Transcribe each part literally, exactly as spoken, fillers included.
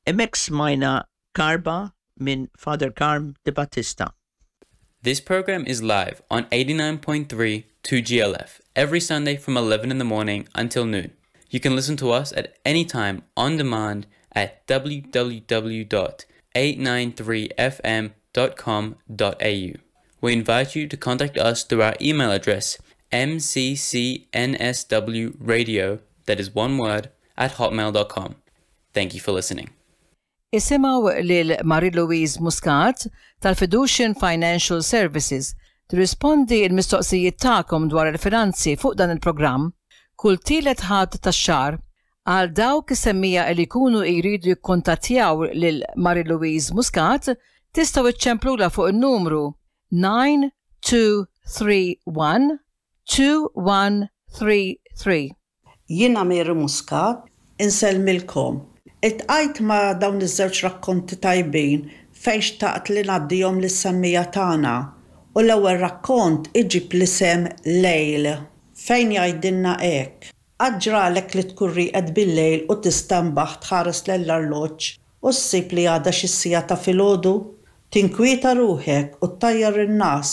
Hemmhekk smajna karba minn Father Karm Debattista. This program is live on eighty-nine point three two G L F every Sunday from eleven in the morning until noon. You can listen to us at any time on demand at w w w dot eight nine three f m dot com dot a u. We invite you to contact us through our email address m c c n s w radio, that is one word, at hotmail dot com. Thank you for listening. Isimgħu lil Marie-Louise Muscat tal-Fiducian Financial Services tirrispondi il-mistoqsijiet tagħkom dwar il-finanzi fuq dan il-programm kull tielet Ħadd tax-xahar. Għal dawk is-semmiegħa li jkunu jridu jikkontattjaw lil Marie-Louise Muscat, tistgħu iċċemplula fuq il-numru nine two three one two one three three. Jiena Mary Muscat, insellmilkom. Iltqajt ma' dawn iż-żewġ rakkonti tajbin fejn xtaqt li ngħaddihom lis-semmiegħa tagħna. U l-ewwel rakkont iġib l-isem Lejl, fejn jgħidilna hekk: Qatt ġralek li tkun rieqed bil-lejl u tistenbaħ, tħares l-arloġġ u ssib li għadha xi siegħa ta' filgħodu? Tinkwieta ruħek u ttajjar in-ngħas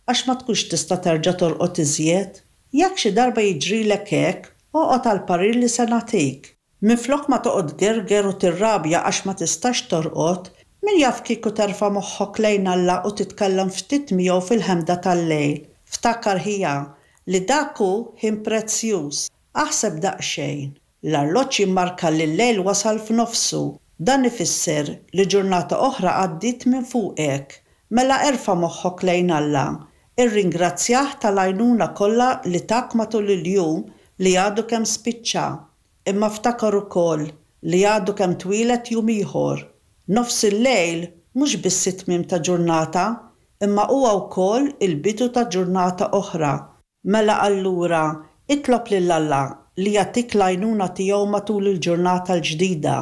għax ma tkunx tista' terġa' torqod iżjed. Jekk xi darba jiġrilek hekk, oqgħod għal parir li se nagħtik. Minflok ma toqgħod tgerger u tirrabja għax ma tistax torqod, min jaf kieku terfa' moħħok lejn Alla u titkellem ftit miegħu fil-ħemda tal-lejl. Ftakar, ħija, li dak hu ħin prezzjuż. Aħseb daqsxejn. L-arloġġ jimmarka li l-lejl wasal f'nofsu. Dan ifisser li ġurnata oħra għaddiet minn fuqek. Mela erfa' moħħok lejn Alla. Irringrazzjah tal-għajnuna kollha li tak matul il-jum li għadu kemm spiċċa. Imma ftakar ukoll li għadu kemm twieled jum ieħor. Nofs il-lejl mhux biss it-tmiem ta' ġurnata, imma huwa wkoll il-bidu ta' ġurnata oħra. Mela allura, itlob lil Alla li jagħtik l-għajnuna tiegħu matul il-ġurnata l-ġdida.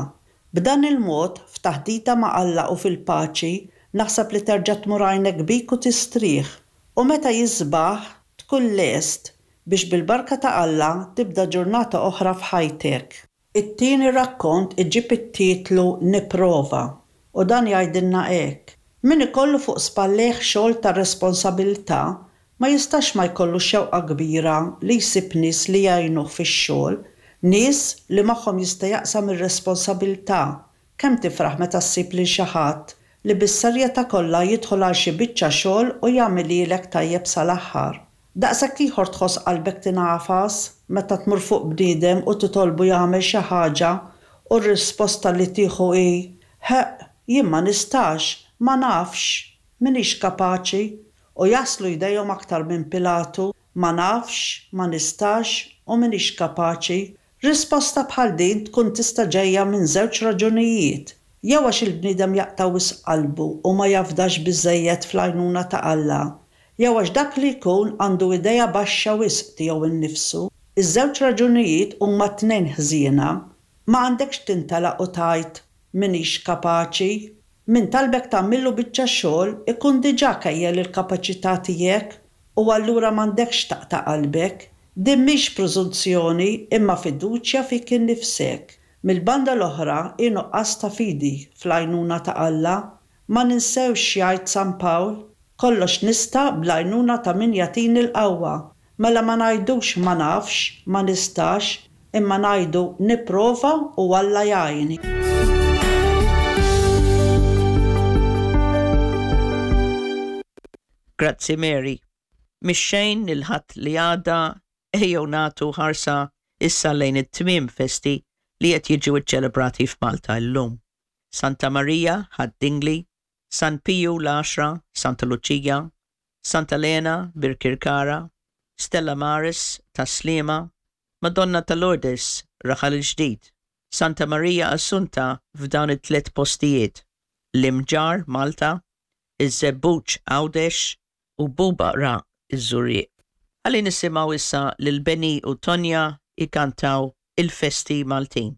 B'dan il-mod, f'taħdita ma' Alla u fil-paċi, naħseb li terġa' tmur għajnek bik u tistrieħ. U meta jisbaħ, tkun lest biex bil-barka ta' Alla tibda ġurnata oħra f'ħajtek. It-tieni rakkont iġib it-titlu Nipprova u dan jgħidilna hekk: Min ikollu fuq spallejh xogħol ta' responsabilità ma jistax ma jkollu xewqa kbira li jsib nies li jgħinuh fix-xogħol, nies li magħhom jista' jaqsam ir-responsabilità. Kemm tifraħ meta ssib lil xi ħadd li bis-serjetà kollha jidħol għal xi biċċa xogħol u jagħmilhielek tajjeb sal-aħħar. Daqshekk ieħor tħoss qalbek tingħafas meta tmur fuq bniedem u titolbu jagħmel xi ħaġa u r-risposta li tieħu hi: "Ħeq, jien ma nistax, ma nafx, m'iniex kapaċi", u jaslu jdejhom aktar minn Pilatu: "Ma nafx, ma nistax u m'iniex kapaċi." Risposta bħal din tkun tista' ġejja minn żewġ raġunijiet. Jew għax il-bniedem jaqta' wisq qalbu u ma jafdax biżejjed fl-għajnuna ta' Alla, jew għax dak li jkun għandu idea baxxa wisq tiegħu innifsu. Iż-żewġ raġunijiet huma tnejn ħżiena. Ma għandekx tintelaq u tgħid "m'iniex kapaċi". Min talbek tagħmillu biċċa xogħol ikun diġà kejjel il-kapaċità tiegħek u allura m'għandekx taqta' qalbek. Din mhix preżunzjoni imma fiduċja fik innifsek. Mill-banda l-oħra hi nuqqas ta' fidi fl-għajnuna ta' Alla. Ma ninsewx jgħid San Pawl: "Kollox nista' bl-għajnuna ta' min jagħtini l-qawwa." Mela ma ngħidux "ma nafx, ma nistax", imma ngħidu "nipprova u Alla jgħinni." Grazzi, Mary. Mix-xejn il-Ħadd li għadda, ejjew nagħtu ħarsa issa lejn it-tmien festi li qed jiġu ċċelebrati f'Malta llum. Santa Maria, Ħad-Dingli, San Piju l-Għaxra, Santa Luċija, Santa Lena, Birkirkara, Stella Maris, Tas-Sliema, Madonna ta' Lourdes, Raħal il-Ġdid, Santa Maria Assunta f'dawn it-tliet postijiet, l-Imġarr, Malta, iż-Żebbuġ, Għawdex u Bubaqra, iż-Żurrieq. Ħalli nisimgħu issa lil Benny u Tonja ikantaw il-festi Maltin.